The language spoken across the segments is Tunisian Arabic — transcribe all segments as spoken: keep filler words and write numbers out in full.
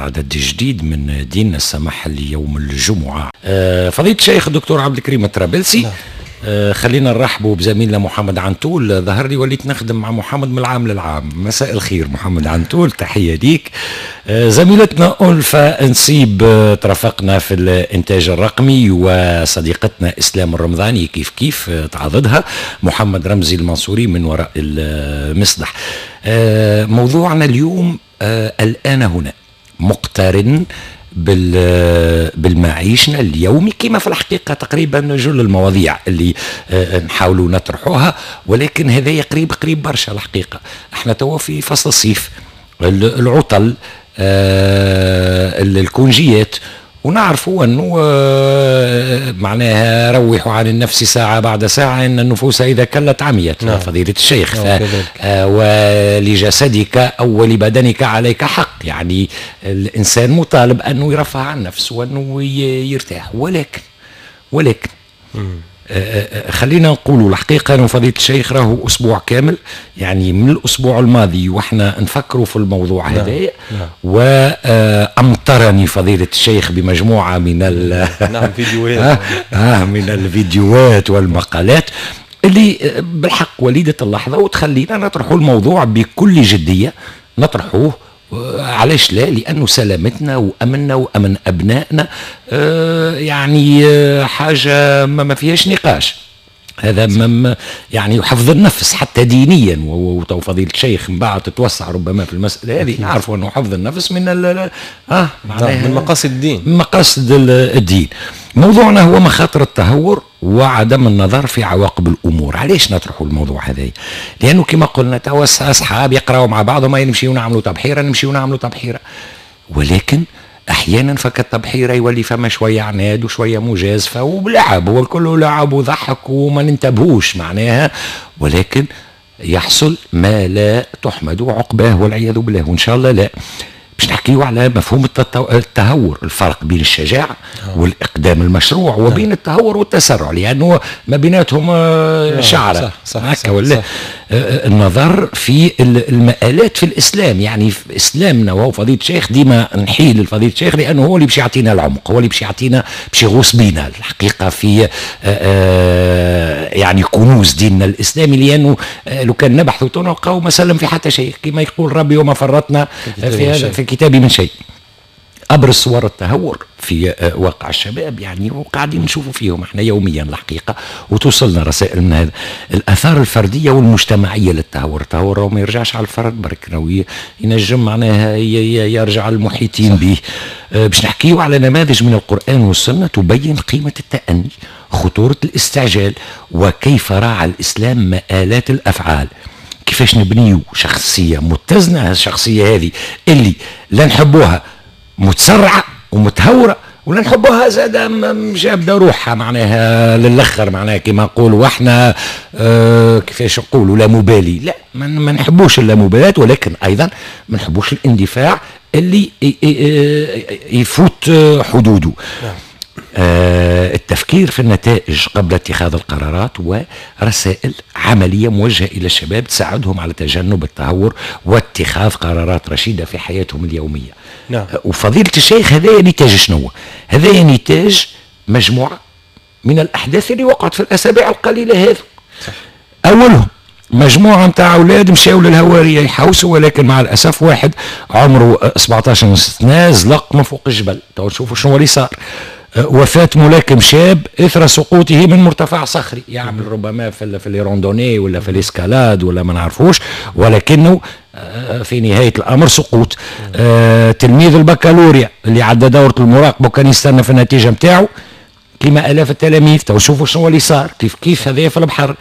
عدد جديد من ديننا السمح ليوم الجمعة. فضيلة الشيخ الدكتور عبد الكريم الطرابلسي، نعم. خلينا نرحبوا بزميلنا محمد عنتول. ظهر لي وليت نخدم مع محمد من العام للعام. مساء الخير محمد عنتول، تحية ليك. زميلتنا ألفة نسيب ترافقنا في الإنتاج الرقمي، وصديقتنا إسلام الرمضاني كيف كيف تعاضدها محمد رمزي المنصوري من وراء المصدح. موضوعنا اليوم الآن هنا مقترن بالمعيشنا اليومي، كما في الحقيقة تقريبا جل المواضيع اللي نحاولوا نطرحوها، ولكن هذا قريب قريب برشا. الحقيقة احنا توا في فصل الصيف، العطل، الكونجيات، ونعرفوا أنه معناها روحوا عن النفس ساعة بعد ساعة، إن النفوس إذا كلت عميت. نعم. فضيلة الشيخ، ف... ولجسدك أو ولبدنك عليك حق، يعني الإنسان مطالب أنه يرفع عن نفسه وأنه يرتاح، ولكن ولكن خلينا نقولوا الحقيقة أنه فضيلة الشيخ راهو أسبوع كامل، يعني من الأسبوع الماضي وإحنا نفكروا في الموضوع هذا. نعم. نعم. وأمطرني فضيلة الشيخ بمجموعة من ال نعم فيديوهات آه من الفيديوهات والمقالات اللي بالحق وليدة اللحظة، وتخلينا نطرحوا الموضوع بكل جدية. نطرحوه علاش لا؟ لأنه سلامتنا وأمننا وأمن أبنائنا آه يعني آه حاجة ما فيهاش نقاش. هذا ما يعني حفظ النفس حتى دينيا، وتو فضيلة الشيخ من بعد تتوسع ربما في المسألة هذه. نعرفوا أنه حفظ النفس من ال آه من مقاصد الدين، من مقاصد الدين. موضوعنا هو مخاطر التهور وعدم النظر في عواقب الامور. علاش نطرحوا الموضوع هذا؟ لانه كما قلنا توا اصحاب يقراوا مع بعضهم، نمشيو نعملوا تبحيره نمشيو نعملوا تبحيره، ولكن احيانا فك التبحيره يولي فما شوية عناد وشوية مجازفة ولعب، هو الكل لعب وضحك وما ننتبهوش معناها، ولكن يحصل ما لا تحمد عقباه والعياذ بالله، وان شاء الله لا. باش نحكيو على مفهوم التهور، الفرق بين الشجاعة والإقدام المشروع وبين التهور والتسرع، لأنه ما بيناتهم شعرة. صح هكا ولا؟ صح. النظر في المآلات في الإسلام، يعني في إسلامنا، وهو فضيلة الشيخ ديما نحيل لفضيلة الشيخ لأنه هو اللي باش يعطينا العمق، هو اللي باش يعطينا باش يغوص بينا الحقيقة في يعني كنوز ديننا الإسلامي، لأنه لو كان نبحثوا نلقاو ما سلم في حتى شيء، كما يقول ربي وما فرطنا في هذا في كتابي من شيء. أبرز صور التهور في واقع الشباب يعني، وقاعدين نشوفوا فيهم احنا يوميا الحقيقة، وتوصلنا رسائل من هذا. الآثار الفردية والمجتمعية للتهور، التهور ما يرجعش على الفرد برك، ينجم معناها يرجع على المحيطين به. باش نحكيو على نماذج من القرآن والسنة تبين قيمة التأني، خطورة الاستعجال، وكيف راعى الإسلام مآلات الأفعال. كيفاش نبنيو شخصية متزنة، الشخصية هذه اللي لا نحبوها متسرعة ومتهورة، ولا نحبوها زادة جابدة روحها معناها للأخر، معناها كما نقولوا احنا اه كيفاش نقولوا لا مبالي. لا، ما نحبوش اللامبالاة، ولكن أيضا ما نحبوش الاندفاع اللي يفوت حدوده. نعم. آه التفكير في النتائج قبل اتخاذ القرارات، ورسائل عملية موجهة إلى الشباب تساعدهم على تجنب التهور واتخاذ قرارات رشيدة في حياتهم اليومية. نعم. وفضيلة الشيخ هذا نتاج شنو؟ هذا نتاج مجموعة من الأحداث اللي وقعت في الأسابيع القليلة هذه. أولهم مجموعة نتاع أولاد مشاو للهوارية يحوسوا، ولكن مع الأسف واحد عمره سبعطاش سنة زلق من فوق الجبل. تو نشوفوا شنو اللي صار. وفاة ملاكم شاب إثر سقوطه من مرتفع صخري، يعمل ربما في في les randonnées ولا في l'escalade ولا ما نعرفوش، ولكنه في نهاية الأمر سقوط. آه تلميذ البكالوريا اللي عدى دورة المراقبة وكان يستنى في النتيجة نتاعو كما آلاف التلاميذ، تو شوفوا شنو اللي صار كيف كيف هذا في البحر.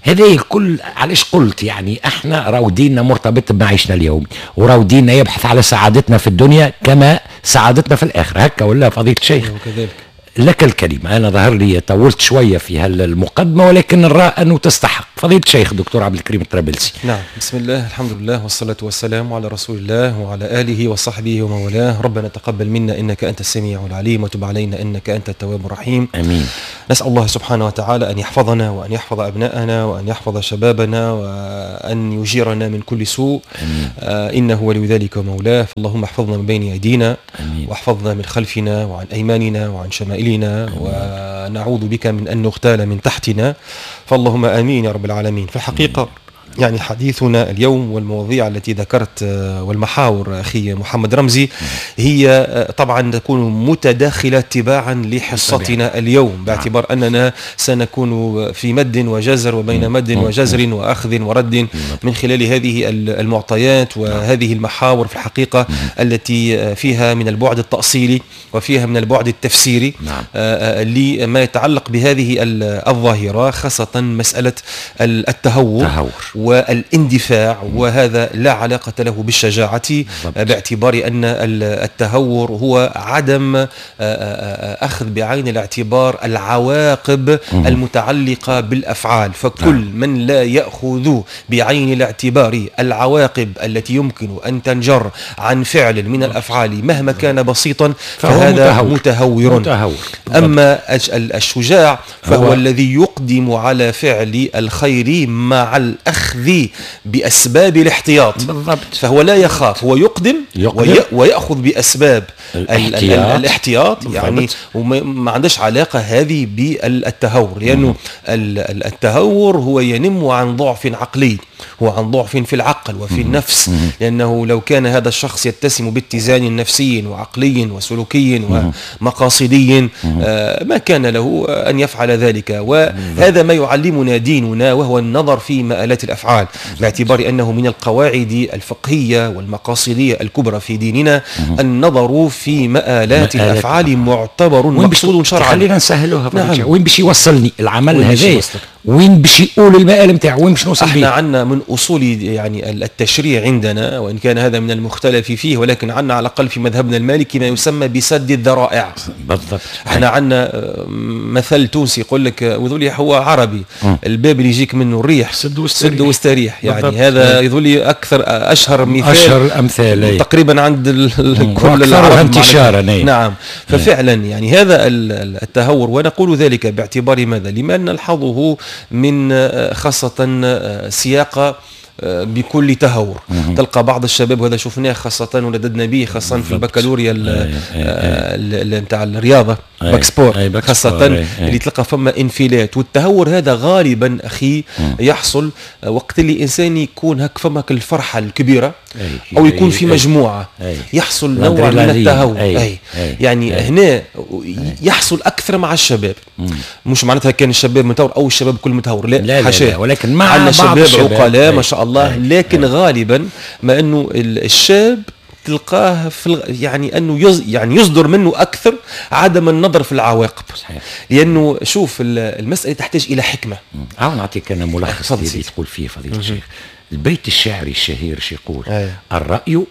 هذا الكل علاش قلت يعني احنا راهو ديننا مرتبط بمعيشنا اليومي، وراهو ديننا يبحث على سعادتنا في الدنيا كما سعادتنا في الاخرة، هكا ولا فضيلة الشيخ؟ لك الكلمة. أنا ظهر لي طولت شوية في هالمقدمة، ولكن نرى أنه تستحق. فضيلة الشيخ دكتور عبد الكريم الطرابلسي. نعم، بسم الله، الحمد لله، والصلاة والسلام على رسول الله وعلى آله وصحبه ومن والاه. ربنا تقبل منا إنك أنت السميع العليم، وتب علينا إنك أنت التواب الرحيم. آمين. نسأل الله سبحانه وتعالى أن يحفظنا وأن يحفظ أبناءنا وأن يحفظ شبابنا وأن يجيرنا من كل سوء. آمين. آه إنه ولي ذلك ومولاه. فاللهم احفظنا من بين أيدينا، آمين، واحفظنا من خلفنا وعن أيماننا وعن شمائلنا، ونعوذ بك من أن نغتال من تحتنا. فاللهم آمين يا رب العالمين. في الحقيقة يعني حديثنا اليوم والمواضيع التي ذكرت والمحاور أخي محمد رمزي هي طبعا تكون متداخلة تباعا لحصتنا اليوم، باعتبار أننا سنكون في مد وجزر وبين مد وجزر وأخذ ورد من خلال هذه المعطيات وهذه المحاور في الحقيقة التي فيها من البعد التأصيلي وفيها من البعد التفسيري لما يتعلق بهذه الظاهرة، خاصة مسألة التهور والاندفاع، وهذا لا علاقة له بالشجاعة، باعتبار أن التهور هو عدم أخذ بعين الاعتبار العواقب المتعلقة بالأفعال. فكل من لا يأخذ بعين الاعتبار العواقب التي يمكن أن تنجر عن فعل من الأفعال مهما كان بسيطا فهذا متهور, متهور. أما الشجاع فهو هو الذي يقدم على فعل الخير مع الأخذ بأسباب الاحتياط. بالضبط. فهو لا يخاف، هو يقدم, يقدم ويأخذ بأسباب الاحتياط, الاحتياط يعني، وما عندش علاقة هذه بالتهور، لأنه التهور هو ينم عن ضعف عقلي، هو عن ضعف في العقل وفي النفس، لأنه لو كان هذا الشخص يتسم باتزان نفسي وعقلي وسلوكي ومقاصدي ما كان له أن يفعل ذلك. وهذا ما يعلمنا ديننا، وهو النظر في مآلات الأفعال، باعتبار أنه من القواعد الفقهية والمقاصدية الكبرى في ديننا النظر في مآلات الأفعال معتبر مقصود شرعا. خلينا نسهلوها. نعم. وين باش يوصلني العمل هذا؟ وين باش يقول المآل نتاعو؟ وين باش نوصل بيه؟ احنا عندنا من اصول يعني التشريع عندنا، وان كان هذا من المختلف فيه، ولكن عندنا على الاقل في مذهبنا المالكي ما يسمى بسد الذرائع. بالضبط. احنا عندنا مثل تونسي يقول لك، وذولي هو عربي، م. الباب اللي يجيك منه الريح سد واستريح. يعني بالضبط. هذا يظل اكثر اشهر مثال، اشهر الامثال تقريبا عند كل العرب انتشارا. نعم. ففعلا يعني هذا التهور، ونقول ذلك باعتبار ماذا؟ لما نلحظه من خاصة سياقة بكل تهور. تلقى بعض الشباب، وهذا شفناه خاصة ولددنا به خاصة في البكالوريا نتاع الرياضة bac sport، خاصة اللي تلقى فما انفلات. والتهور هذا غالبا أخي يحصل وقت اللي الإنسان يكون هك فما الفرحة الكبيرة أو يكون في مجموعة، يحصل نوع من التهور. أي. يعني هنا يحصل أكثر مع الشباب. مش معناتها كان الشباب متهور أو الشباب كل متهور، لا, لا, لا, ولكن مع بعض الشباب عقلاء ما شاء الله، لكن غالبا ما انه الشاب تلقاه في الغ... يعني انه يز... يعني يصدر منه اكثر عدم النظر في العواقب. صحيح. لانه شوف المسالة تحتاج الى حكمه. اه نعطيك انا ملخص اللي تقول فيه فضيلة الشيخ. البيت الشعري الشهير شو يقول؟ أيه. الراي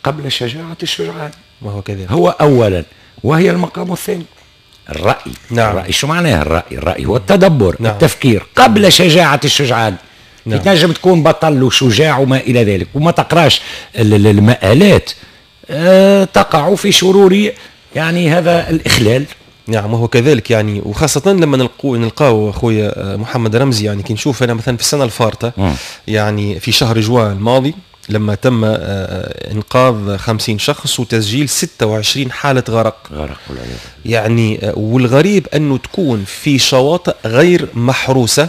قبل شجاعة الشجعان، وهو كذلك هو اولا وهي المقام الثاني. الراي. نعم. الراي شو معناه الراي؟ الراي هو التدبر، نعم. التفكير قبل شجاعة الشجعان. نعم. تنجم تكون بطل وشجاع وما إلى ذلك وما تقراش المآلات، أه تقع في شرور يعني هذا الإخلال. نعم، وهو كذلك يعني، وخاصة لما نلقو نلقاو أخويا محمد رمزي، يعني كي نشوف أنا مثلا في السنة الفارطة، يعني في شهر جوان الماضي لما تم إنقاذ خمسين شخص وتسجيل ستة وعشرين حالة غرق. غرق والعياذ. يعني والغريب أنه تكون في شواطئ غير محروسة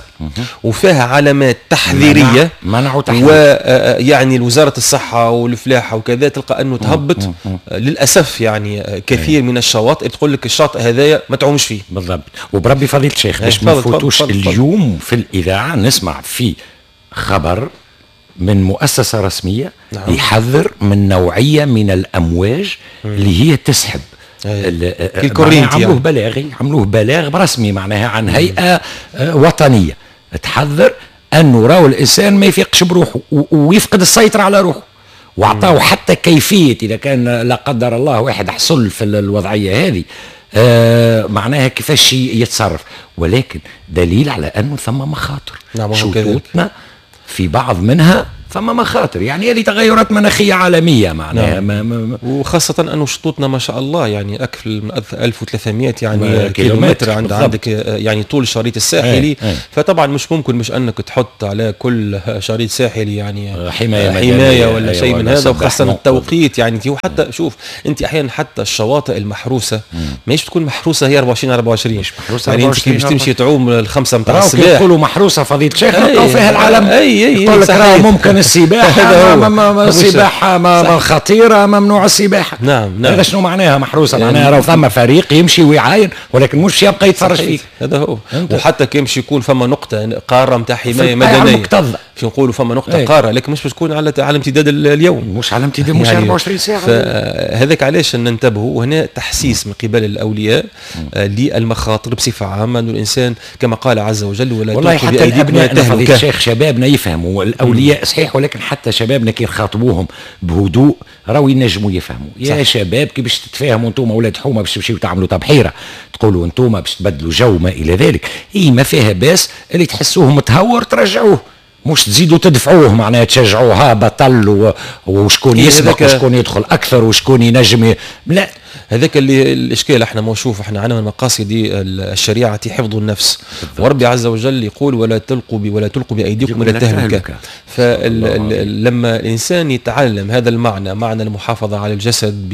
وفيها علامات تحذيرية، منع وتحذير، ويعني وزارة الصحة والفلاحة وكذا تلقى أنه تهبط للأسف يعني كثير من الشواطئ تقول لك الشاطئ هذايا ما تعومش فيه. بالضبط. وبربي فضيلة الشيخ باش ما نفوتوش اليوم في الإذاعة نسمع في خبر من مؤسسة رسمية، نعم، يحذر من نوعية من الأمواج مم. اللي هي تسحب الكورينتي. عملوه يعني. بلاغي، عملوه بلاغ رسمي معناها عن هيئة وطنية تحذر أنه راهو الإنسان ما يفيقش بروحه ويفقد السيطرة على روحه، وأعطاه حتى كيفية إذا كان لا قدر الله واحد حصل في الوضعية هذه آه معناها كيفاش يتصرف، ولكن دليل على انه ثم مخاطر. نعم، شطوطنا في بعض منها فما مخاطر، يعني هذه تغيرات مناخيه عالمية معناها. نعم. ما ما وخاصة انه شطوطنا ما شاء الله يعني اكثر من ألف وثلاثمائة يعني كيلومتر عند عندك يعني طول الشريط الساحلي. ايه. ايه. فطبعا مش ممكن مش انك تحط على كل شريط ساحلي يعني حماية حماية ولا شيء من هذا، وخاصة التوقيت يعني. وحتى شوف انت احيانا حتى الشواطئ المحروسة ماهيش تكون محروسه هي أربعة وعشرين أربعة وعشرين، مش محروسه يعني انت كي باش تمشي تعوم الخمسة نتاع الصباح يقولوا محروسه فضيلة الشيخ نلقاو فيها العالم. اي اي يقول لك راه ممكن السباحة السباحة ما خطيرة، ممنوع السباحة. نعم نعم. هذا شنو معناها محروسه؟ يعني معناها راهو ثم فريق يمشي ويعاين، ولكن مش يبقى يتفرج فيك. هذا هو. وحتى كي يمشي يكون فما نقطة قارة نتاع حماية مدنية، باش نقولوا فما نقطة ايه. قارة، لكن مش باش تكون على على امتداد اليوم، مش على امتداد، مش يعني أربعة وعشرين ساعة. فهذاك علاش ننتبهوا، وهنا تحسيس من قبل الاولياء للمخاطر بصفة عامة، انه الانسان كما قال عز وجل ولا والله حتى الابناء فضيلة الشيخ شبابنا يفهموا، الاولياء صحيح، ولكن حتى شبابنا كي نخاطبوهم بهدوء راهو ينجموا يفهموا. يا شباب كي باش تتفاهموا انتم اولاد حومه باش تمشيو تعملوا تبحيره، تقولوا انتم باش تبدلوا جو ما الى ذلك، اي ما فيها باس اللي تحسوه متهور ترجعوه، مش تزيدوا تدفعوه معناها تشجعوه بطل وشكون يسبق وشكون يدخل اكثر وشكون ينجم. لا، هذاك اللي الاشكال. احنا ما نشوف احنا عندنا من مقاصد الشريعة حفظ النفس، وربي عز وجل يقول ولا تلقوا ولا تلقوا بايديكم الى التهلكة. فلما الانسان يتعلم هذا المعنى، معنى المحافظة على الجسد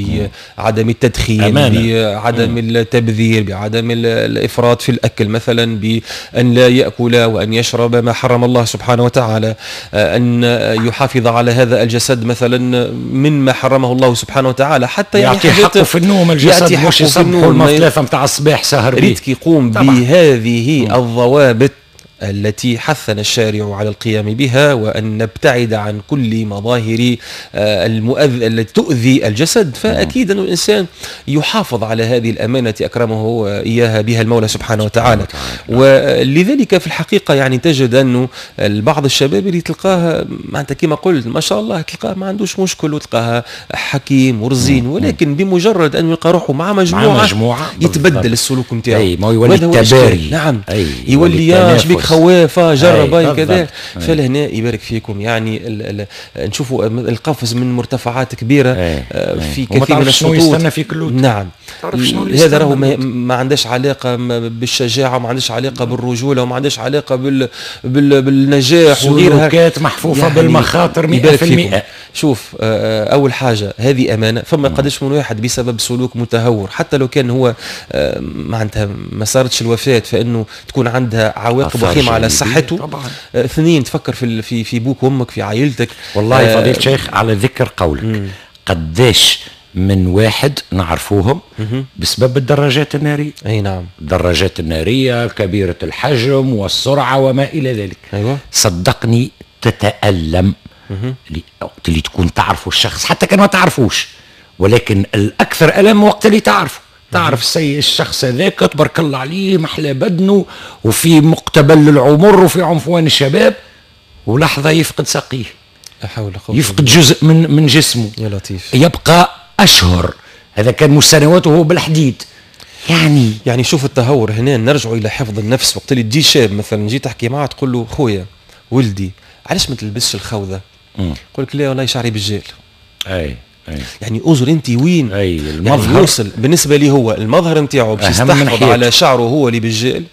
بعدم التدخين، بعدم التبذير، بعدم الافراط في الاكل مثلا، بان لا ياكل وان يشرب ما حرم الله سبحانه وتعالى، ان يحافظ على هذا الجسد مثلا مما حرمه الله سبحانه وتعالى، حتى يعني يعطي حقه في النوم الجسد، مش يصبحوا المثلاثة نتاع الصباح سهر بيه. ريتك يقوم بهذه الضوابط التي حثنا الشارع على القيام بها، وأن نبتعد عن كل مظاهر المؤذ التي تؤذي الجسد، فأكيد أن الإنسان يحافظ على هذه الأمانة أكرمه إياها بها المولى سبحانه وتعالى. ولذلك في الحقيقة يعني تجد أنه بعض الشباب اللي تلقاه معناتها كما قلت ما شاء الله تلقاه ما عندوش مشكل وتلقاه حكيم ورزين، ولكن بمجرد أن يلقى روحه مع مجموعة, مع مجموعة يتبدل السلوك نتاعو. أي ما يولي التباري. نعم، يولي يا شبيك خوافه جرب كذا. فلهنا يبارك فيكم يعني ال ال نشوفوا القفز من مرتفعات كبيرة أي. في كثير من الشطوط. يستنى فيك اللوت. نعم، هذا راهو ما, ما عندهاش علاقة بالشجاعه، وما عندهاش علاقة بالرجوله، وما عندهاش علاقة بال بال بالنجاح وغيرها. سلوكات محفوفة يعني بالمخاطر مئة في المئة. شوف، اول حاجة هذه امانه. فما قداش من واحد بسبب سلوك متهور حتى لو كان هو معناتها ما صارتش الوفاة، فانه تكون عندها عواقب وخيمة على صحته. طبعا. اثنين، تفكر في في في بوك وامك، في عائلتك. والله فضيلة الشيخ على ذكر قولك، قداش من واحد نعرفوهم بسبب الدراجات النارية. اي نعم، الدراجات النارية كبيرة الحجم والسرعة وما الى ذلك. ايوه، صدقني تتألم وقت اللي تكون تعرفوا الشخص، حتى كان ما تعرفوش، ولكن الاكثر ألم وقت اللي تعرفه. تعرف السي الشخص هذاك تبارك الله عليه محلى بدنه وفي مقتبل العمر وفي عنفوان الشباب، ولحظة يفقد ساقيه، لا حول ولا قوة، يفقد جزء من من جسمه، يا لطيف، يبقى اشهر. هذا كان مش سنوات وهو بالحديد. يعني يعني شوف التهور هنا. نرجع الى حفظ النفس. وقت اللي تجي شاب مثلا جي تحكي معاه تقول له خويا ولدي علاش ما تلبسش الخوذه؟ يقول لك لا والله شعري بالجيل. اي أي. يعني انظر انت وين أي المظهر يعني يوصل. بالنسبة لي هو المظهر نتاعو باش يستحفظ على شعره هو اللي بالجيل،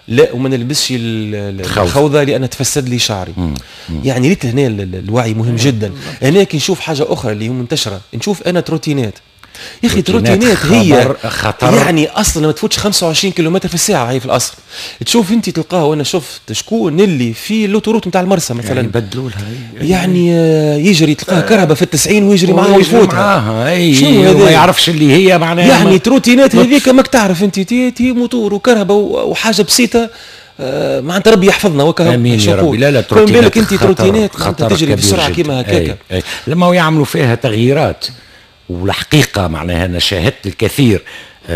لا وما نلبسش الخوذه لان تفسد لي شعري. مم. مم. يعني ريت هنا الوعي مهم جدا. هنا كي نشوف حاجة اخرى اللي هي منتشرة، نشوف انا تروتينات. يا اخي تروتينات هي خطر، يعني اصلا ما تفوتش خمسة وعشرين كيلومتر في الساعة هي في الاصل. تشوف انت تلقاه، وانا شفت شكون اللي في l'autoroute نتاع المرسى مثلا يعني بدلوا لها، يعني يجري تلقاه كرهبه في التسعين ويجري معاها ويفوتها. شنو هذا؟ ما يعرفش اللي هي معناها يعني تروتينات هذيك ماك تعرف انت تي, تي موتور وكرهبه وحاجه بسيطة. آه معناتها ربي يحفظنا وكهو. امين يا ربي. لا لا تروتينات بالك انت تروتينات تجري بسرعة كيما هكاك لما يعملوا فيها تغييرات. والحقيقة معناها أنا شاهدت الكثير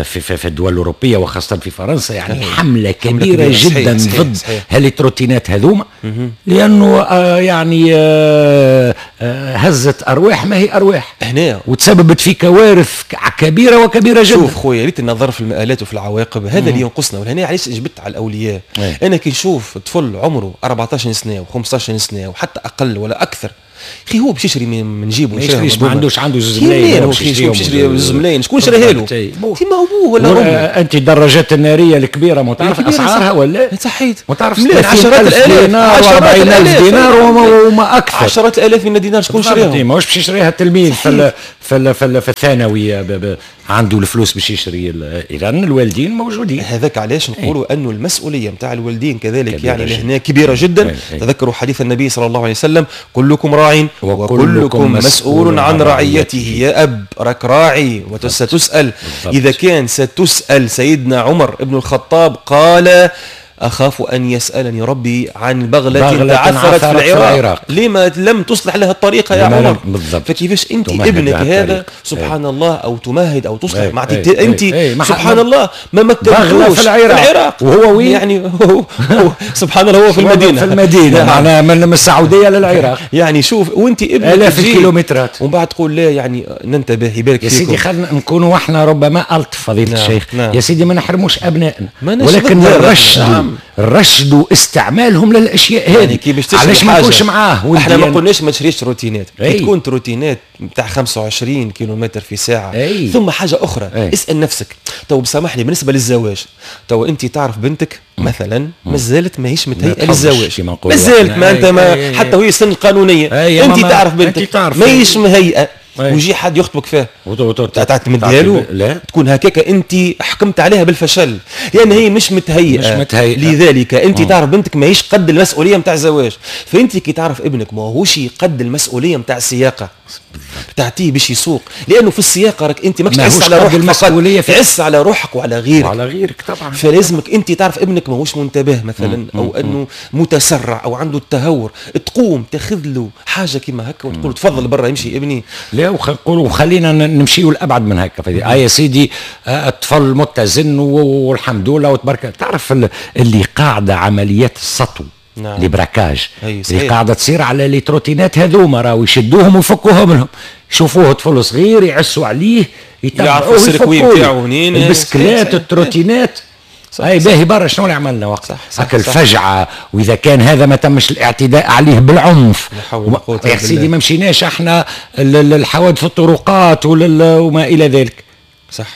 في في الدول الاوروبية وخاصة في فرنسا، يعني حمله كبيرة, كبيرة جدا صحيح ضد هال trottinettes هذوما، لانه آه يعني آه آه هزت ارواح ما هي ارواح هنا، وتسببت في كوارث كبيرة وكبيره جدا. شوف خويا، ريت النظر في المآلات وفي العواقب، هذا اللي ينقصنا. ولهنا علاش جبت على الاولياء؟ أي. انا كي نشوف طفل عمره أربعطاش سنة وخمسطاش سنة وحتى اقل ولا اكثر، اخي هو باش يشري من جيبه، ما يشريش، ما عندوش، عنده زوز ملايين، باش يشري زوز ملايين، شكون شراها له؟ كيما ابوه ولا امه. انت الدراجات النارية الكبيرة ما تعرف اسعارها ولا؟ صحيت، ما تعرف، عشرات الالاف دينار وأربعين ألف دينار وما اكثر، عشرات الالاف من الدينار، شكون شريها؟ ماهوش باش يشريها التلميذ في في في, في الثانوي عنده الفلوس باش يشري. اذا الوالدين موجودين. هذاك علاش نقولوا انه المسؤولية نتاع الوالدين كذلك يعني لهنا كبيرة جدا. تذكروا حديث النبي صلى الله عليه وسلم: كلكم راع وكلكم مسؤول عن رعيته. يا أب راك راعي وستسأل. إذا كان ستسأل، سيدنا عمر بن الخطاب قال: أخاف أن يسألني ربي عن بغلة تعثرت في العراق, العراق. لما لم تصلح لها الطريقة يا عمر؟ بالضبط. فكيفاش أنت ابنك هذا سبحان الله أو تمهد أو تصلح مع أنت سبحان الله ما مكنتوش في العراق. العراق وهو وين؟ يعني هو هو سبحان الله هو في المدينة، في المدينة معناها من السعودية للعراق. يعني شوف، وأنت ابنك آلاف الكيلومترات، ومن بعد تقول لا يعني ننتبه يبارك يا سيدي، خلينا نكونوا احنا ربما ألطف فضيلة الشيخ. يا سيدي ما نحرموش أبنائنا، ولكن نرشدوا رشدوا استعمالهم للاشياء هذه. يعني كي علاش ما نكونش معاه؟ احنا ما قلناش ما تشريش trottinette، كي تكون trottinette نتاع خمسة وعشرين كيلومتر في ساعة. أي. ثم حاجة اخرى. أي. اسال نفسك تو، بسامحني، بالنسبة للزواج تو انت تعرف بنتك مثلا مازالت ماهيش متهيئه للزواج، مازالت ما انت ما حتى وهي السن القانونية، انت تعرف بنتك ماهيش مهيئة، ويجي حد يخطبك فيها تعتمدها له؟ لا، تكون هكاك انت حكمت عليها بالفشل، لان هي مش متهيئه، مش متهيئه. لذلك انت تعرف بنتك ماهيش قد المسؤولية نتاع الزواج، فانت كي تعرف ابنك ماهوش قد المسؤولية نتاع السياقه تعطيه باش يسوق، لانه في السياقه راك انت ماكش تعس على روحك المسؤولية، تعس على روحك وعلى غيرك، وعلى غيرك طبعا. فلازمك انت تعرف ابنك ماهوش منتبه مثلا، او انه متسرع او عنده التهور، تقوم تاخذ له حاجة كيما هكا وتقول تفضل برا يمشي ابني. لا، وخلينا وخلينا نمشيو لابعد من هكا. آه يا سيدي، الطفل متزن والحمد لله وتبارك. تعرف اللي قاعدة عمليات السطو، نعم. les braquages اللي قاعدة تصير على les trottinettes هذوما، راهو يشدوهم ويفكوهم لهم، يشوفوه طفل صغير يعسوا عليه، يتبعوه يفكوه البسكلات ال trottinettes. هاي باهي برا، شنو اللي عملنا وقت هكا الفجعه؟ واذا كان هذا ما تمش الاعتداء عليه بالعنف، يا سيدي ما مشيناش احنا للحوادث الطرقات وما الى ذلك. صح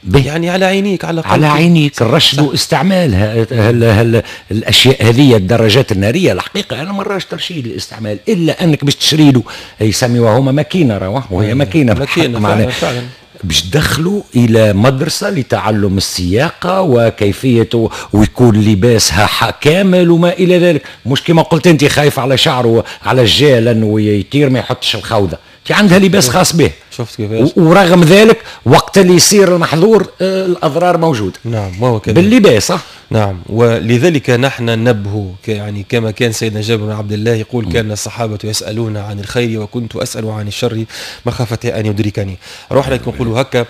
به. يعني على عينيك، على على عينيك الرشد واستعمالها هل هل الاشياء هذه الدراجات النارية. الحقيقة انا ما نراش ترشيد الاستعمال، الا انك باش تشري له، يسميوها هما ماكينة، راهو وهي ماكينة ماكينة فعلا, فعلا. باش تدخلوا الى مدرسه لتعلم السياقه وكيفية، ويكون لباسها كامل وما الى ذلك. مش كما قلت انت خايف على شعره على الجال انه يطير ما يحطش الخوذه، انت عندها لباس خاص به. شفت كيفاش؟ ورغم ذلك وقت اللي يصير المحظور الاضرار موجودة. نعم، ما هو كذلك باللباس. نعم، ولذلك نحن ننبه، يعني كما كان سيدنا جابر بن عبد الله يقول: كان الصحابة يسألون عن الخير وكنت أسأل عن الشر مخافة أن يدركني. روح لك نقولوا هكا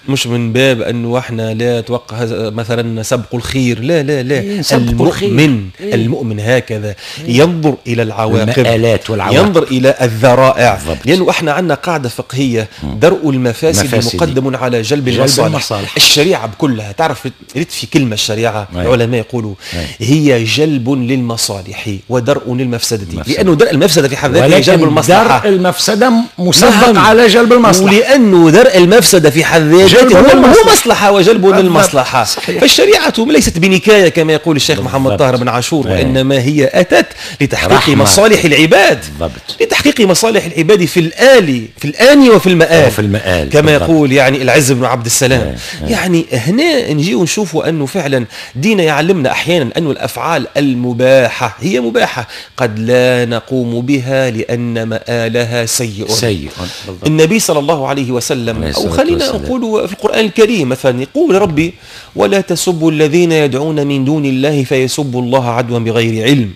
مش من باب انه احنا لا توقع مثلا سبقوا الخير، لا لا لا، إيه المؤمن إيه المؤمن هكذا إيه ينظر الى العواقب، المآلات والعواقب، ينظر الى الذرائع، لانه احنا عندنا قاعدة فقهية: درء المفاسد مفاسد مقدم على جلب المصالح. المصالح. الشريعة بكلها تعرف، ريت في كلمة الشريعة أي. العلماء يقولوا أي. هي جلب للمصالح ودرء للمفسده، لانه درء المفسدة في حد ذاته جلب المصلحة، درء المفسدة مسبق نعم. على جلب المصلحة، ولانه درء المفسدة في حد ذاته هو هو مصلحة وجلب للمصلحة. صحيح. فالشريعة ليست بنكاية كما يقول الشيخ محمد طاهر بن عاشور، وإنما هي أتت لتحقيق رحمة. مصالح العباد. بالضبط. لتحقيق مصالح العباد في الآل في الآن وفي المآل، وفي المآل كما بالضبط. يقول يعني العز بن عبد السلام. أيه. يعني هنا نجي ونشوفوا أنه فعلا دينا يعلمنا أحيانا أن الأفعال المباحة هي مباحة، قد لا نقوم بها لأن مآلها سيء. سيء. بالضبط. النبي صلى الله عليه وسلم، أو خلينا نقول في القرآن الكريم مثلا، يقول ربي: ولا تسبوا الذين يدعون من دون الله فيسبوا الله عدوا بغير علم.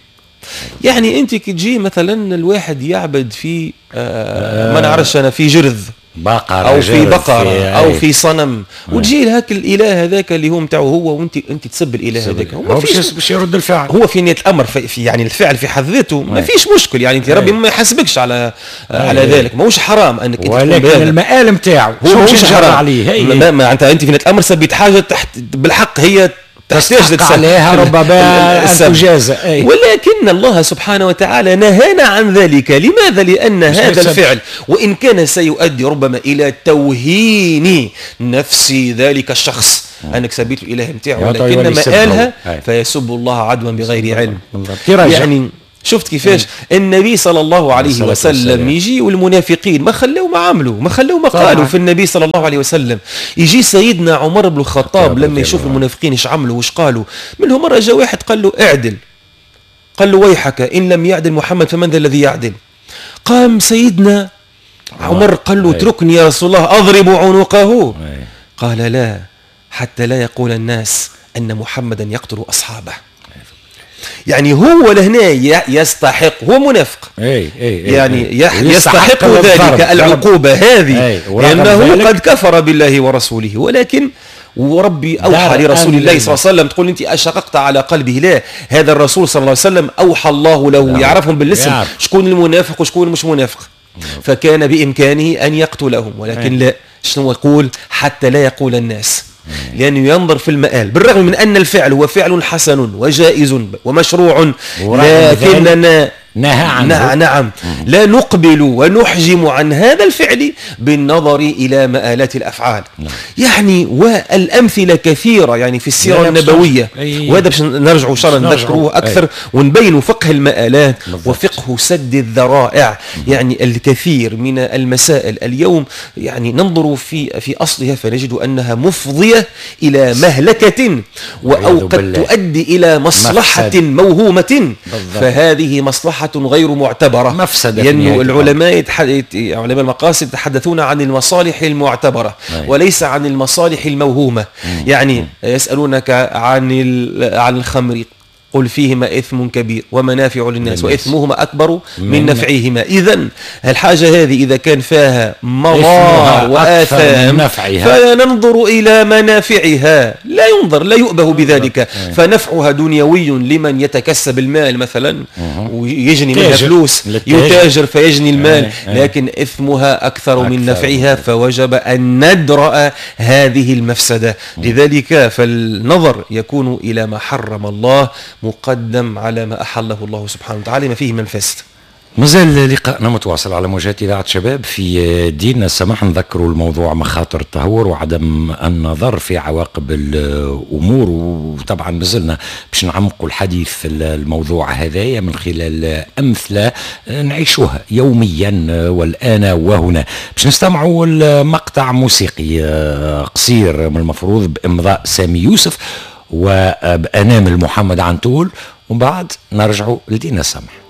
يعني انت كي تجي مثلا الواحد يعبد في آه ما نعرفش انا في جرذ، بقرة او في بقرة في او في صنم، وتجي لهاك الاله هذاك اللي هو نتاعو هو، وانت انت تسب الاله هذاك، هو باش باش يرد الفعل. هو في نية الامر في, في يعني الفعل في حد ذاته ما فيش مشكل، يعني انت ربي ما يحاسبكش على على ذلك، ماهوش حرام انك انت، ولكن المآل نتاعو هو ماهوش حرام عليه. ما, ما انت انت في نية الامر سبيت حاجة تحت بالحق هي تستحق عليها ربما أن تجازى، ولكن الله سبحانه وتعالى نهانا عن ذلك. لماذا؟ لأن هذا الفعل وإن كان سيؤدي ربما إلى توهين نفس ذلك الشخص، أنك سبيت الإله نتاعو، ولكن مآلها فيسب الله عدوا بغير علم. يعني شفت كيفاش النبي صلى الله عليه وسلم يجي والمنافقين ما خلوا ما عملوا، ما خلوا ما قالوا في النبي صلى الله عليه وسلم. يجي سيدنا عمر بن الخطاب لما يشوف المنافقين ايش عملوا واش قالوا، منهم مرة جاء واحد قال له اعدل، قال له ويحك إن لم يعدل محمد فمن ذا الذي يعدل؟ قام سيدنا عمر قال له اتركني يا رسول الله أضرب عنقه. قال لا، حتى لا يقول الناس أن محمدا يقتل أصحابه. يعني هو لهنا يستحق، هو منافق، أي أي أي يعني أي يستحق ذلك العقوبة هذه، لأنه قد كفر بالله ورسوله. ولكن وربي أوحى لرسول الله صلى الله عليه وسلم، تقول أنت أشققت على قلبه، لا، هذا الرسول صلى الله عليه وسلم أوحى الله له، يعرفهم بالاسم شكون المنافق وشكون مش منافق، فكان بإمكانه أن يقتلهم، ولكن لا، شنو يقول؟ حتى لا يقول الناس، لأنه ينظر في المآل، بالرغم من أن الفعل هو فعل حسن وجائز ومشروع، لكننا نهى عنه. نعم، لا نقبل ونحجم عن هذا الفعل بالنظر إلى مآلات الأفعال. نعم. يعني والأمثلة كثيرة يعني في السيرة النبوية، وهذا باش نرجعوا إن شاء الله نذكروه أكثر ونبينوا فقه المآلات وفقه سد الذرائع. يعني الكثير من المسائل اليوم يعني ننظر في في أصلها فنجد أنها مفضية إلى مهلكة، أو قد تؤدي إلى مصلحة موهومة، فهذه مصلحة غير معتبرة، مفسدة. لأن العلماء يتح... علماء المقاصد يتحدثون عن المصالح المعتبرة أي. وليس عن المصالح الموهومة. مم. يعني يسألونك عن ال... عن الخمر، قل فيهما إثم كبير ومنافع للناس وإثمهما أكبر من نفعهما. إذن الحاجة هذه إذا كان فيها مضار وآثام فننظر إلى منافعها، لا ينظر، لا يؤبه بذلك. فنفعها دنيوي لمن يتكسب المال مثلا ويجني منها فلوس، يتاجر فيجني المال، لكن إثمها أكثر من نفعها، فوجب أن ندرأ هذه المفسدة. لذلك فالنظر يكون إلى ما حرم الله مقدم على ما أحله الله سبحانه وتعالى ما فيه من فاسد. مازال لقاءنا متواصل على موجات إذاعة شباب في ديننا السماح. نذكروا الموضوع مخاطر التهور وعدم النظر في عواقب الأمور، وطبعا مازلنا باش نعمقوا الحديث في الموضوع هذايا من خلال أمثلة نعيشوها يوميا والآن وهنا. باش نستمعوا المقطع موسيقي قصير من المفروض بإمضاء سامي يوسف وبأنامل محمد عنتول، ومن بعد نرجعوا لدينا السمح.